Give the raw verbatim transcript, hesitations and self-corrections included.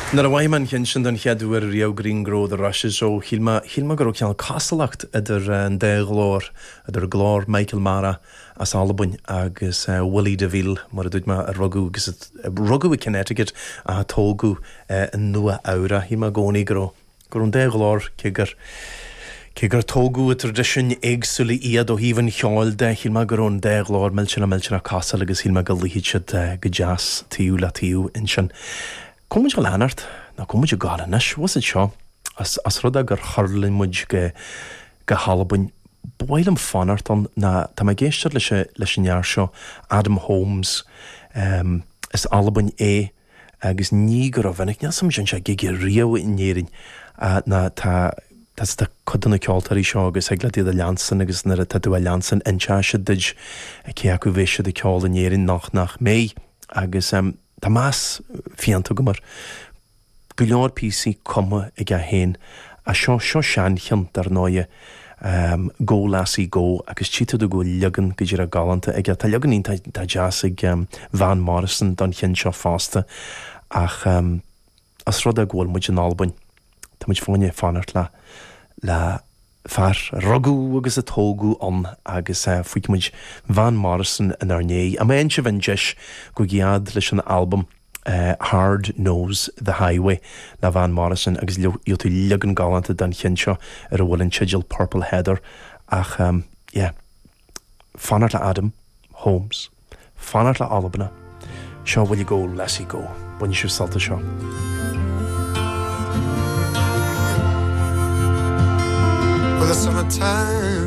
Nuair a mhaith an chin sin don chéad uair riamh Green Grow the Rushes ó shíl mé go raibh cineál cosúlacht idir an dá ghlór idir glór Michael Marra as Albain agus Willie DeVille mar a dúirt mé a rugadh agus rugadh i Connecticut a tógadh i Nua Eabhrac. Shíl mé i gcónaí go raibh go raibh an dá ghlór cé gur cé gur tógadh i dtraidisiúin éagsúla iad ó thaobh an cheoil de, shíl mé go raibh an dá ghlór millteanach millteanach cosúil agus shíl mé go luífeadh siad go deas taobh le taobh ansin. Cá muid ag leanacht nó cá muid ag gabháil anois, bhfuil siad seo as as rud é gur thuirling muid go go hAlbain. Ba mhaith liom fanacht ann ná tá mé ag éisteacht leis leis an fhear seo Adam Holmes um, is Albain é agus ní go rómhinic níl sam sin sé gig riamh in Éirinn uh, ná tá tá tá cuid de na ceoltóirí seo agus ag le iad a leanstan agus nuair atá tú a leanstan inseoidh siad duit cé acu bheidh siad ag ceol in Éirinn nach nach mbeidh agus um, tá meas fiánta agam air. Go leor píosaí cumtha aige féin a seo seo seancheann dar ndóighe um, Go Lassie Go agus tchí tú go bhfuil leagan go díreach galánta aige. Tá leagan iontach deas ag um, Van Morrison don cheann seo fosta ach um, as rud é go bhfuil muid in Albain. Tá muid fáinne fanacht le le fear a rugadh agus a tógadh ann agus uh, fágfaidh muid Van Morrison inár ndiaidh. A mbeidh sibh an deis go gead leis an albam uh, Hard Knows the Highway le Van Morrison agus gheobhaidh tú leagan galánta den cheann seo ar a bhfuil an teideal Purple Heather ach um, yeah, fanacht le Adam Holmes, fanacht le Albain, seo bhfuil go Lassie go, bain sibh sult as seo. Well, the summertime